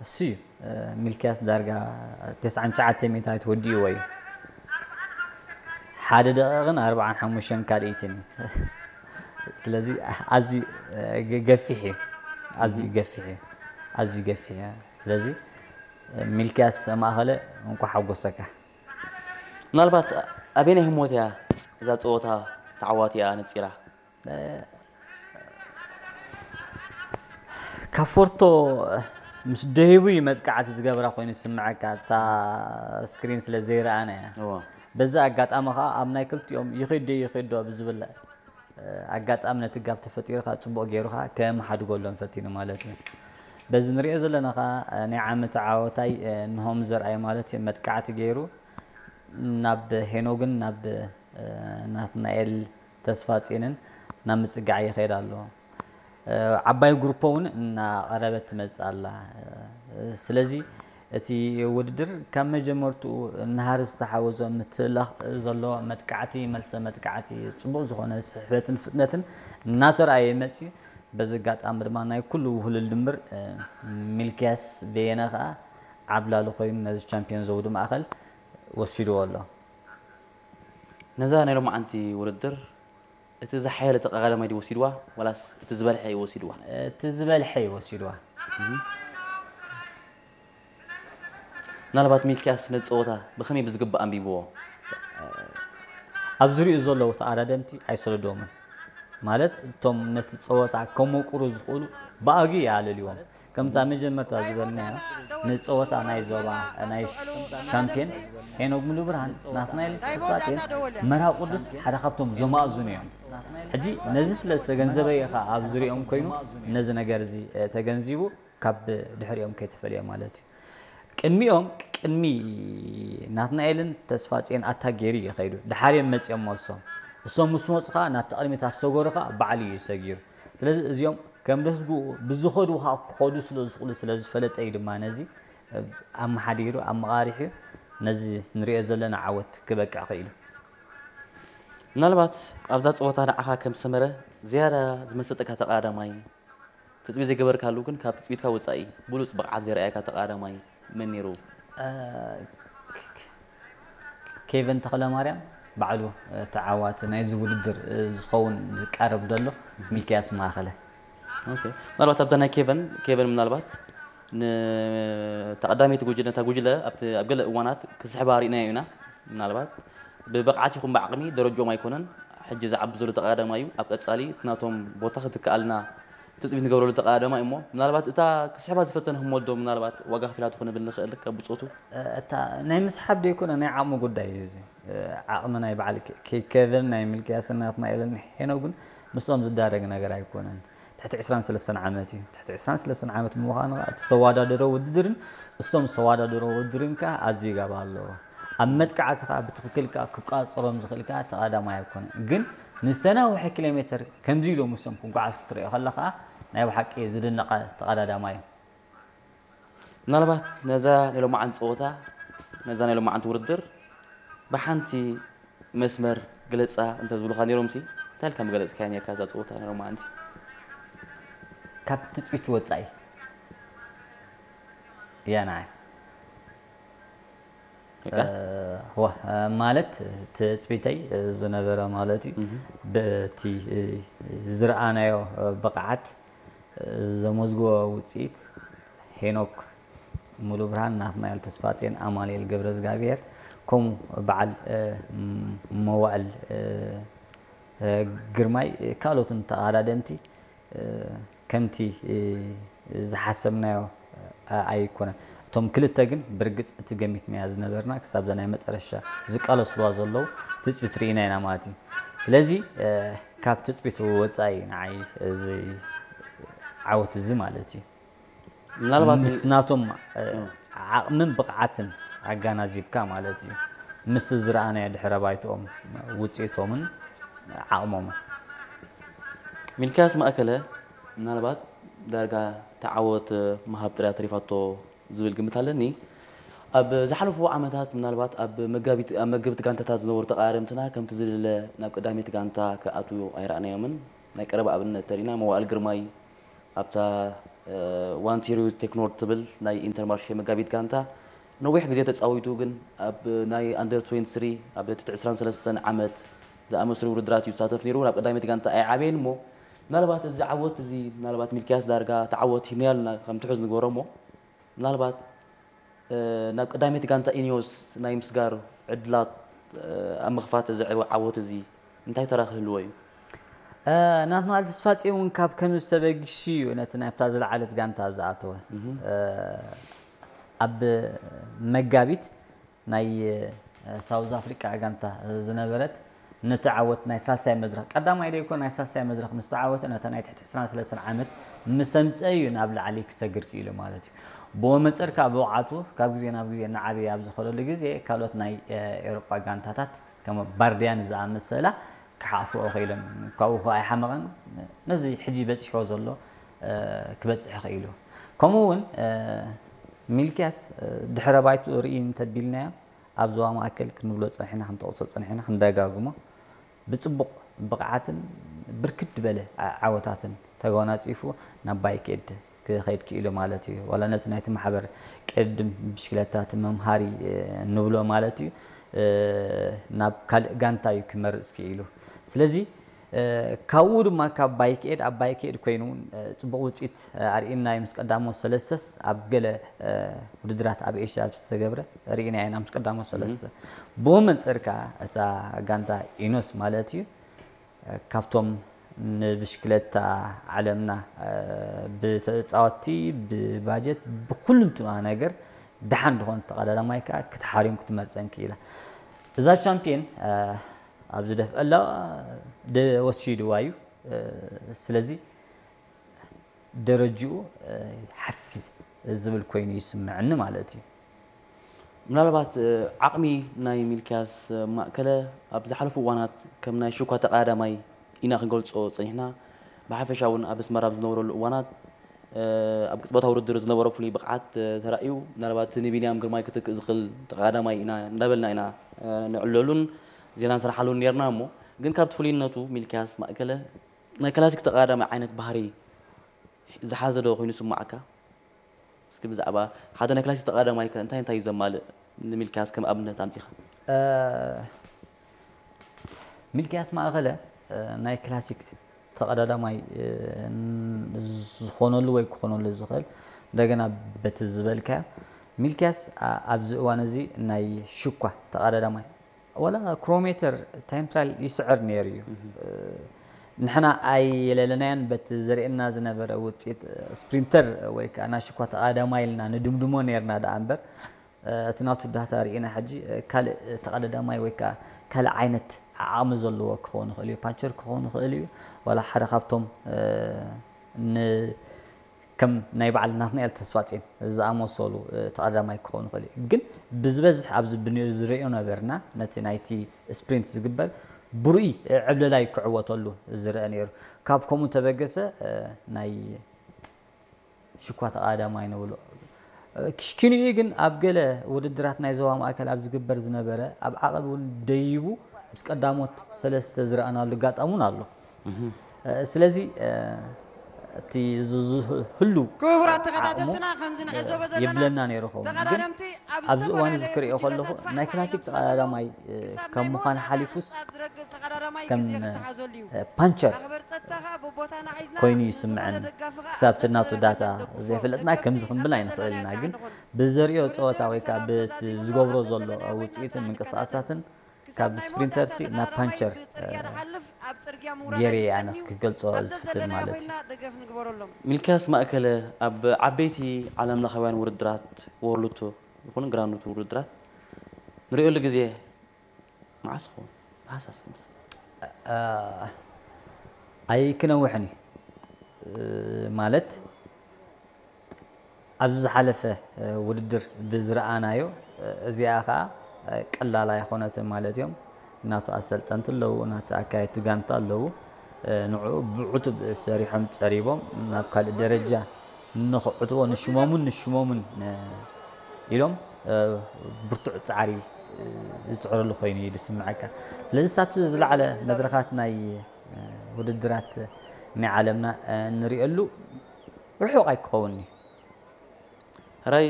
እሱ እዩ። ሚልክያስ ዳርጋ ተስዓን ትሽዓተ ሚእታዊት ወዲእዎ እዩ። ሓደ ደቂቕን ኣርባዓን ሓሙሽተን ካልኢትን እዩ። ስለዚ ኣዝዩ ገፊሕ እዩ። ኣዝዩ ገፊሕ እዩ። ኣዝዩ ገፊሕ እዩ። ስለዚ ሚልክያስ ማእኸለ እንኳ ሓጎሰካ። ምናልባት ኣበየናይ ህሞት እያ እዛ ፀወታ ተዓዋቲኣ ነፂራ? ካብ ፎርቶ ምስ ደሂቡ እዩ መጥቃዕቲ ዝገብራ ኮይኑ ዝስምዐካ፣ እታ ስክሪን ስለ ዘይረኣና እያ። እዎ። በዚ ኣጋጣሚ ከዓ ኣብ ናይ ክልቲኦም ይኸይድ ዶ ይኸይድ ዶ ብዝብል ኣጋጣሚ ነቲ ጋብ ተፈጢሩ ከዓ ፅቡቕ ገይሩ ከዓ ከመሓድገሎም ፈቲኑ ማለት እዩ። በዚ ንሪኦ ዘለና ከዓ ናይ ዓመት ዓወታይ ንሆም ዘርኣይ ማለት እዩ መጥቃዕቲ ገይሩ ናብ ሄኖግን ናብ ናትናኤል ተስፋጼንን ናብ ምጽጋዕ ይኸይድ ኣሎ። ዓባይ ግሩፖ እውን እናቐረበት ትመጽእ ኣላ። ስለዚ እቲ ውድድር ካብ መጀመርትኡ ናሃሪ ዝተሓወዞ ምትላኽ ዘለዎ መጥቃዕቲ፣ መልሰ መጥቃዕቲ፣ ጽቡቕ ዝኾነ ስሕበትን ፍጥነትን እናተረኣየ መጽዩ። በዚ ኣጋጣሚ ድማ ናይ ኩሉ ውህሉል ድምር ሚልክያስ በየነ ከኣ ዓብላሊ ኮይኑ ነዚ ቻምፒዮን ዘውዲ ማእኸል ወሲድዎ ኣሎ። ነዛ ናይ ሎማዓንቲ ውድድር እቲ ዝሓየለ ተቐዳዳማይ ድዩ ወሲድዋ ዋላስ እቲ ዝበልሐ እዩ ወሲድዋ? እቲ ዝበልሐ እዩ ወሲድዋ። ምናልባት ሚልክያስ ነዚ ፀወታ ብኸመይ ብዝግባእ ኣንቢብዎ? ኣብ ዙሪኡ ዘለዉ ተቐዳደምቲ ኣይሰለድዎምን። ማለት እቶም ነቲ ፀወታ ከመቁሩ ዝኽእሉ ብኣግኡ ይኣለልዎም። ከምታ መጀመርታ ዝበልናዮ ንፀወታ ናይ ዞባ ናይ ሻምፒዮን ሄኖግ ሙሉብርሃን ናትናኤል ተስፋጼን መርሃዊ ቅዱስ ሓደ ካብቶም ዘማእዝኑ እዮም። ሕጂ ነዚ ስለ ዝተገንዘበ እዩ ኸዓ ኣብ ዙሪኦም ኮይኑ ነዚ ነገር እዚ ተገንዚቡ ካብ ድሕሪኦም ከይተፈልየ ማለት እዩ። ቅድሚኦም ቅድሚ ናትናኤልን ተስፋጼን ኣታ ገይሩ እዩ ከይዱ። ድሓርዮም መፂኦም እሶም እሶም ምስ መፁ ከዓ ናብቲ ቅድሚት ኣብ ሰገሩ ከዓ ባዕሉ እዩ ሰጊሩ። ስለዚ እዚኦም ከም ደስግኡ ብዝኸዱ ከዓ ክኸዱ ስለ ዝኽእሉ ስለ ዝፈለጠ እዩ ድማ ነዚ ኣመሓዲሩ ኣመቓሪሑ ነዚ ንሪኦ ዘለና ዓወት ክበቅዕ ክኢሉ። ምናልባት ኣብዛ ፀወታ ንዓኻ ከም ሰመረ ዝያዳ ዝመሰጠካ ተቐዳዳማይ ትፅቢት ዘይገበርካሉ ግን ካብ ትፅቢትካ ወፃኢ ብሉፅ ብቕዓት ዘርኣየካ ተቐዳዳማይ መን ነይሩ? ኬቨን ተኽለማርያም ባዕሉ ተዓዋቲ ናይዚ ውድድር ዝኸውን ዝቃረብ ዘሎ ሚልክያስ ማእኸለ። ኦኬ። ምናልባት ኣብዛ ናይ ኬቨን ኬቨን ምናልባት ንተቐዳመይቲ ጉጅለ ነታ ጉጅለ ኣብቲ ኣብ ገለ እዋናት ክስሕባ ርኢናዮ ኢና። ምናልባት ብብቕዓት ይኹን ብዓቕሚ ደረጅኦም ኣይኮነን ሕጂ ዝዓቢ ዘሎ ተቐዳዳማይ እዩ። ኣብ ቀፃሊ እቲ ናቶም ቦታ ክትከኣልና ትፅቢት ንገብረሉ ተቐዳዳማይ እሞ ምናልባት እታ ክስሕባ ዝፈተነ ህሞት ዶ ምናልባት ዋጋ ከፊላቶ ክንብል ንኽእል ካብ ብፆቱ? እታ ናይ ምስሓብ ደይኮነ ናይ ዓቕሚ ጉዳይ እዩ እዚ። ዓቕሚ ናይ በዓል ኬቨን ናይ ሚልክያስን ናትናኤልን ሄኖግን ምስኦም ዝዳረግ ነገር ኣይኮነን። ትሕቲ ዕስራን ሰለስተን ዓመት እዩ። ትሕቲ ዕስራን ሰለስተን ዓመት ብምዃኑ ከዓ እቲ ሰዋዳደሮ ውድድርን እሶም ሰዋዳደሮ ውድድርን ከዓ ኣዝዩ ጋባ ኣለዎ። ኣብ መጥቃዕቲ ከዓ ብትኽክል ከዓ ክቋፅሮም ዝኽእል ከዓ ተቐዳማይ ኣይኮነን። ግን ንዝተናውሐ ኪሎ ሜትር ከምዚ ኢሎም እሶም ክጓዓዝ ክትሪኦ ከለኻ ናይ ብሓቂ ዝድነቐ ተቐዳዳማይ እዩ። ምናልባት ነዛ ናይ ሎማዓንቲ ፀወታ ነዛ ናይ ሎማዓንቲ ውድድር ብሓንቲ መስመር ግለፃ እንተዝብሉኻ ነይሮምሲ እንታይ ኢልካ ምገለፅካያ ነርካ እዛ ፀወታ ናይ ሎማዓንቲ? ካብ ትፅቢት ወፃኢ እያ ንዓይ። ማለት ትፅቢተይ ዝነበረ ማለት እዩ። በቲ ዝረኣናዮ ብቕዓት ዘመዝግቦ ውፅኢት ሄኖክ ሙሉብርሃን፣ ናትናኤል ተስፋጼን፣ ኣማኑኤል ገብረዝጋብሄር ከምኡ በዓል መዋእል ግርማይ ካልኦትን ተቐዳደምቲ ከምቲ ዝሓሰብናዮ ኣይኮነን። እቶም ክልተ ግን ብርግፅ እቲ ገሚትናያ ዝነበርና ክሳብ እዛ ናይ መጠረሻ ዝቃለስዋ ዘለዉ ትፅቢት ርኢና ኢና ማለት እዩ። ስለዚ ካብ ትፅቢት ወፃኢ ንዓይ እዚ ዓወት እዚ ማለት እዩ ምናልባት ምስ ናቶም ዓቕምን ብቕዓትን ኣጋናዚብካ ማለት እዩ። ምስ ዝረኣናዮ ድሕረ ባይትኦም ውፅኢቶምን ዓቕሞምን ሚልክያስ ማእከለ ምናልባት ዳርጋ ተዓወት ምሃብ ጥርያ ተሪፋቶ ዝብል ግምት ኣለኒ። ኣብ ዝሓለፉ ዓመታት ምናልባት ኣብ መጋቢት ኣብ መገብቲ ጋንታታት ዝነበሩ ተቃዳደምትና ከምቲ ዝድለ ናብ ቀዳመይቲ ጋንታ ክኣትዉ ኣይረኣናዮምን። ናይ ቀረባ ኣብነት ተሪና መዋእል ግርማይ ኣብታ ዋንቲሪዩስ ቴክኖር ትብል ናይ ኢንተርማርሼ መጋቢት ጋንታ ነዊሕ ግዜ ተፃዊቱ፣ ግን ኣብ ናይ ኣንደር ትዌንቲ ስሪ ኣብ ትሕቲ ዕስራን ሰለስተን ዓመት ዝኣመስሉ ውድድራት እዩ ዝሳተፍ ነይሩ። ናብ ቀዳመይቲ ጋንታ ኣይዓበየን እሞ ምናልባት እዚ ዓወት እዚ ምናልባት ሚልኪያስ ዳርጋ ተዓወት ሂብናዮ ኣለና ከም ትሑዝ ንግበሮ እሞ ምናልባት ናብ ቀዳመይቲ ጋንታ ኢኒዮስ ናይ ምስጋር ዕድላት ኣብ ምኽፋት እዚ ዓወት እዚ እንታይ ተራ ክህልዎ እዩ? ናትናል ተስፋጽዮን እውን ካብ ከምዚ ተበጊሱ እዩ ነቲ ናብታ ዝለዓለት ጋንታ ዝኣተወ። ኣብ መጋቢት ናይ ሳውዝ ኣፍሪቃ ጋንታ ዝነበረት ነቲ ዓወት ናይ ሳልሳይ መድረኽ ቀዳማይ ዶ ይኮን ናይ ሳልሳይ መድረኽ ምስ ተዓወተ ነታ ናይ ትሕቲ ዕስራን ሰለስተን ዓመት ምስ ኣምፀ እዩ ናብ ላዕሊ ክሰግር ክኢሉ ማለት እዩ። ብኡ መንፅር ከዓ ብቕዓቱ ካብ ግዜ ናብ ግዜ እናዓበየ ኣብ ዝኸደሉ ግዜ ካልኦት ናይ ኤውሮጳ ጋንታታት ከም ባርዲያን ዝኣመሰላ ክሓፍኦ ክኢሎም ካብኡ ከዓ ኣይሓመቐን ነዚ ሕጂ በፂሕዎ ዘሎ ክበፅሕ ክኢሉ። ከምኡ እውን ሚልኪያስ ድሕረ ባይትኡ ርኢ እንተቢልናዮ ኣብ ዞባ ማእከል ክንብሎ ጸኒሕና ክንጠቕሶ ጸኒሕና ክንደጋግሞ ብጽቡቕ ብቕዓትን ብርክት ዝበለ ዓወታትን ተጎናጺፉ ናብ ባይክ ኤድ ክኸይድ ክኢሉ ማለት እዩ። ዋላ ነቲ ናይቲ ማሕበር ቅድም ብሽክለታ እቲ መምሃሪ ንብሎ ማለት እዩ ናብ ካልእ ጋንታ እዩ ክመርጽ ክኢሉ። ስለዚ ካብኡ ድማ ካብ ባይክ ኤድ ኣብ ባይክ ኤድ ኮይኑ እውን ፅቡቕ ውፅኢት ኣርእና እዩ ምስ ቀዳሞት ሰለስተስ ኣብ ገለ ውድድራት ኣብ ኤሽያ ኣብ ዝተገብረ ርኢና ኢና ምስ ቀዳሞት ሰለስተ ብኡ መንፅር ከዓ እታ ጋንታ ኢኖስ ማለት እዩ ካብቶም ንብሽክለታ ዓለምና ብተፃወቲ ብባጀት ብኩልንትና ነገር ደሓን ዝኾነ ተቐዳዳማይ ከዓ ክትሓርዮም ክትመርፀን ክኢላ እዛ ቻምፒየን ኣብዚ ደፍአ ኣለዋ ወሲድዋ እዩ ስለዚ ደረጅኡ ሓፍ ዝብል ኮይኑ ይስምዐኒ ማለት እዩ ምናልባት ዓቕሚ ናይ ሚልኪያስ ማእከለ ኣብ ዝሓለፉ እዋናት ከም ናይ ሽኳ ተቐዳዳማይ ኢና ክንገልፆ ፀኒሕና ብሓፈሻ እውን ኣብ ኣስመራ ኣብ ዝነበረሉ እዋናት ኣብ ቅፅበታዊ ውድድር ዝነበሮ ፍሉይ ብቕዓት ተራእዩ ምናልባት ንቢንያም ግርማይ ክትክእ ዝኽእል ተቐዳዳማይ ኢና እንዳበልና ኢና ንዕለሉን ዜና ንሰርሓሉን ነርና እሞ ግን ካብቲ ፍሉይነቱ ሚልኪያስ ማእከለ ናይ ክላሲክ ተቐዳዳማይ ዓይነት ባህሪ ዝሓዘ ዶ ኮይኑ ስማዓካ? እስኪ ብዛዕባ ሓደ ናይ ክላሲክ ተቐዳዳማይ ከ እንታይ እንታይ እዩ ዘማልእ ንሚልኪያስ ከም ኣብነት ኣምፂኻ? ሚልኪያስ ማእኸለ ናይ ክላሲክ ተቐዳዳማይ ዝኾነሉ ወይ ክኾነሉ ዝኽእል እንደገና በቲ ዝበልካዮ ሚልኪያስ ኣብዚ እዋን እዚ ናይ ሽኳ ተቐዳዳማይ ወላ ክሮሜተር ታይም ትራያል ይስዕር ነይሩ እዩ ንሕና ኣይለለናዮን በቲ ዘርእየና ዝነበረ ውፅኢት ስፕሪንተር ወይ ከዓ ናሽኳ ተቐዳዳማይ ኢልና ንድምድሞ ነርና ደኣ እምበር እቲ ናቱ ዳታ ርኢና ሕጂ ካልእ ተቐዳዳማይ ወይ ከዓ ካልእ ዓይነት ዓቕሚ ዘለዎ ክኸውን ይኽእል እዩ ፓንቸር ክኸውን ይኽእል እዩ ዋላ ሓደ ካብቶም ከም ናይ በዓል ናትናኤል ተስፋጼን ዝኣመሰሉ ተቐዳማይ ክኾኑ ይኽእል እዩ ግን ብዝበዝሕ ኣብዚ ዝሪኦ ነበርና ነቲ ናይቲ ስፕሪንት ዝግበር ብሩይ ዕብለላይ ክዕወተሉ ዝረአ ነይሩ ካብ ከምኡ ተበገሰ ናይ ሽኳ ተቐዳማይ ንብሎ ክሽኪንኡ ግን ኣብ ገለ ውድድራት ናይ ዞባ ማእከል ኣብ ዝግበር ዝነበረ ኣብ ዓቐብ እውን ደይቡ ምስ ቀዳሞት ሰለስተ ዝረኣናሉ ኣጋጣሚ እውን ኣሎ ስለዚ እቲ ዝህሉ ክቡራት ተኸታተልትና ከምዚ ንዕዘቦ ዘለና የብለና ነይሩ ኸውን ግን ኣብዚ እዋን እዚ ክሪኦ ከለኹ ናይ ክላሲክ ተቐዳዳማይ ካብ ምዃን ሓሊፉስ ከም ፓንቸር ኮይኑ ይስምዐኒ ክሳብ ትናቱ ዳታ ዘይፈለጥና ከምዚ ክንብል ኣይንኽእልና ግን ብዘሪኦ ፀወታ ወይ ከዓ በቲ ዝገብሮ ዘሎ ውፅኢትን ምንቅስቃሳትን ካብ ስፕሪንተርሲ ናብ ፓንቸር ገይረ ኣነ ክገልፆ ዝፍትን ማለት እዩ። ሚልክያስ ማእከለ ኣብ ዓበይቲ ዓለም ለኻውያን ውድድራት ወርልድ ቱር ይኹን ግራንድ ቱር ውድድራት ንሪኦሉ ግዜ መዓስ ይኸውን? ታሕሳስ ግምት። ኣይክነውሕን እዩ ማለት ኣብዚ ዝሓለፈ ውድድር ብዝረኣናዮ እዚኣ ከዓ ቀላል ኣይኮነትን ማለት እዮም ናቱ ኣሰልጠንቲ ኣለዉ ናቲ ኣካየድቲ ጋንታ ኣለዉ ንዕኡ ብዕቱብ ሰሪሖም ፀሪቦም ናብ ካልእ ደረጃ ንኽዕትዎ ንሽሞምን ንሽሞምን ኢሎም ብርቱዕ ፃዕሪ ዝፅዕርሉ ኮይኑ እዩ ዝስምዐካ ስለዚ ሳብቲ ዝለዓለ መድረኻት ናይ ውድድራት ናይ ዓለምና ንሪኦሉ ርሑቕ ኣይክኸውን እዩ። ሕራይ